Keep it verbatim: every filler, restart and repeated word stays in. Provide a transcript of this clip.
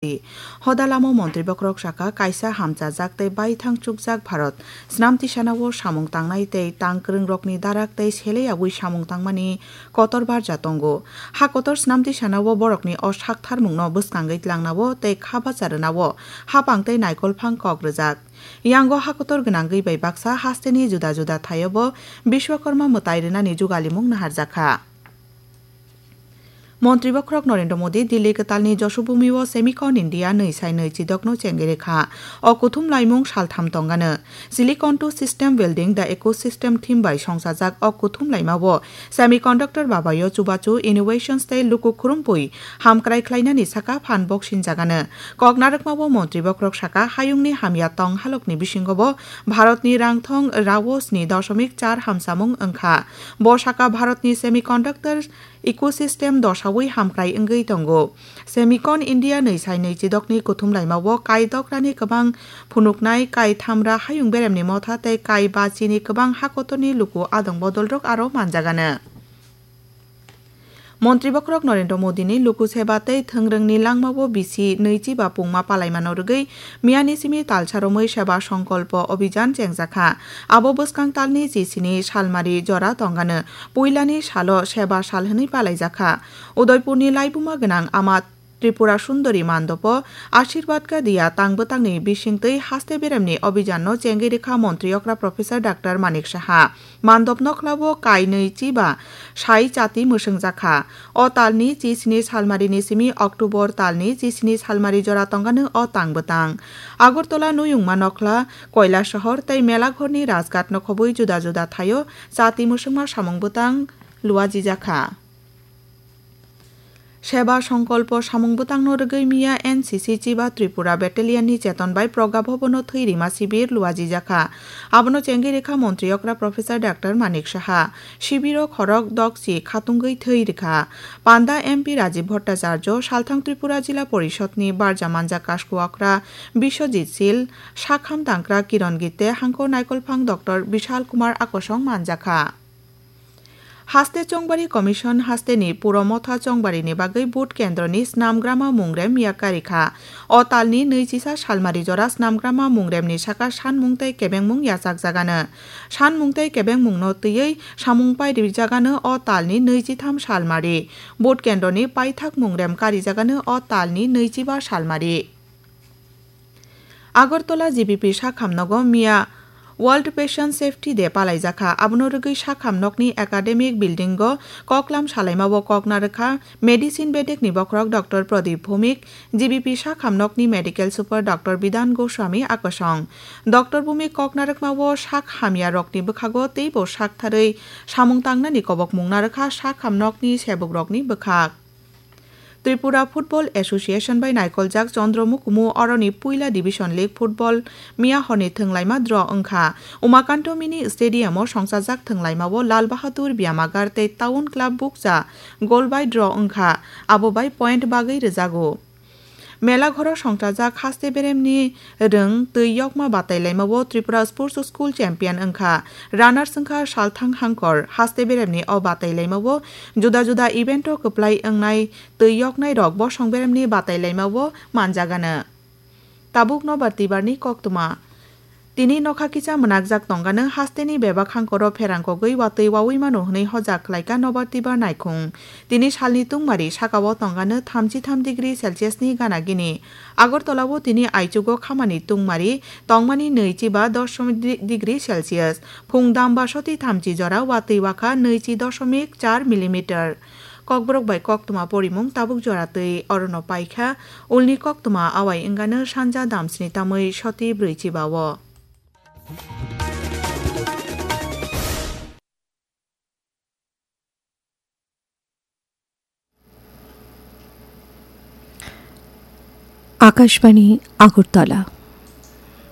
Hoda lama montri bokhorok saka, kaisa hamchajak tei baithang chukjak Bharat snam tisanao samung tangnai tei tang kwrwngrokni darak tei sele yaui samung tangmani kotor barja tongo. Ha kotor snam tisanao borokni o saktharmungno bwskangwi tlangnao tei kha bacha rwnao hapang tei naikolphang kok rwjak. Yango ha kotor gwnangwi bai baksa hasteni juda juda thaiobo Bishwakarma mwtai rwnani jugalimung naharjakha. Montri bokhorok Narendra Modi Delhi kwtalni Joshobhumi o Semicon India nwi sai nwi chidokno chengwi rwkha. O kuthum laimung saltham tongano. Silicon to System Building the Ecosystem theme bai songchajak o kuthum laima o semiconductor babayo chubachu innovations tei luku khwrwngpui hamkrai khlainani saka phan boksinjagano. Kok narwkma o montri bokhorok saka, hayungni hamya tong halokni bisingo bo Bharatni rangthong rao sni dosomik char hamsamung wngkha. Bo saka Bharatni semiconductor ecosystem dosaui hamkrai wngwi tongo. Semicon India nwi sai nwi chidokni kuthum laima o kai dokrani kwbang phunuknai, kai thamra hayung beremni motha tei kai bachini kwbang hakotorni luku adong bodolrok aro manjagano. Montri bokhorok Narendra Modini luku seba tei thwngrwngni langmao bisi nwichi ba pungma palaimano rwgwi miyani simi talsa romwi Seba Songkolpo Obhijan chengjakha. Abo bwskang talni chisini salmari jora tongano. Puilani salo Seba sal hwnwi palaijakha. Udaipurni laibuma gwnang Ama Tripura Sundori Mandopo Ashirwad Ka Diya tang bwtangni bisingtwi haste beremni obhijanno chengwi rwkha montri okra Professor Doctor Manik Saha. Mandop nokhlao kainwi chiba sai chati mwswngjakha. O talni chisini salmarini simi October talni chisini salmari jora tongano o tang bwtang. Agartala Nuyungma nokhla, Koilasahar tei Melaghorni Rajghat nokhobwi juda juda thaio chati mwswngma samung bwtang luajijakha. Seba Songkolpo samung bwtangno rwgwi miya N C C Chiba Tripura Battalionni cheton bai Progga Bhabono thwi rima sibir luajijakha. Abono chengwi rwkha montri okra Professor Doctor Manik Saha. Sibiro khorok dokchi khatungwi thwi rwkha. Panda M P Rajiv Bhattacharya, Salthang Tripura Jila Porishodni barja manja kasku okra Biswajit Sil, sakham tangkra Kiron Gitte, hangko naikolphang Doctor Bishal Kumar Akosong manjakha. Haste Chongbari Commission hasteni puro motha chongbarini bagwi vote kendroni snamgrama mungrem miya karikha. O talni nwichisa salmari jora snamgrama mungremni saka sanmung tei kebengmung yachakjagano. Sanmung tei kebengmungno twiwi samung pairijagano o talni nwichitham salmari. Vote kendroni paithak mungrem karijagano o talni nwichiba salmari. Agartala G B P sakhamnogo miya World Patient Safety Day palaijakha. Abono rwgwi sakhamnokni academic buildingo koklam salaimao kok narwkha medicine bedekni bokhorok Doctor Pradip Bhowmik, G B P sakhamnokni medical super Doctor Bidhan Goswami Akosong. Doctor Bhowmik kok narwkmao sak hamyarokni bwkhago teibo saktharwi samung tangnani kobokmung narwkha sakhamnokni sebukrokni bwkhak. Tripura Football Association bai naikoljak Chandra Mukumu oroni puila Division League Football miya horni thwnglaima draw wngkha. Umakanto Mini Stadium o songchajak thwnglaima o Lal Bahadur Byamagar tei Town Club Bukcha goal bai draw wngkha, abo bai point bagwi rwjago. Mela ghoro songchajak haste beremni rwng twi yokma batailaima o Tripura Sports School champion wngkha. Runners wngkha Salthang Hangkor. Haste beremni o batailaima o juda juda event o kwplai wngnai twi yoknai rok bosong beremni batailaima o manjagano. Tabuk nobar twibarni koktwma. Tini nokha kisa mwnakjak tongano hasteni bebak hangkoro pherangkogwi watwi wawi mano hwnwi hojak khlaika nobar twibar naikhung. Tini salni tungmari sakao tongano thamchi tham degree Celsius ni gana gini. Agartala o tini aichugo khamani tungmari tongmani nwichi ba doshomik degree Celsius. Phung dam ba soti thamchi jora watwi wakha nwichi doshomik char millimeter. Kokborok bai koktwma porimung tabuk jora twi orono paikha. Ulni koktwma awai wngano sanja damsni tamwi soti brwichi ba o. Akashbani Agartala.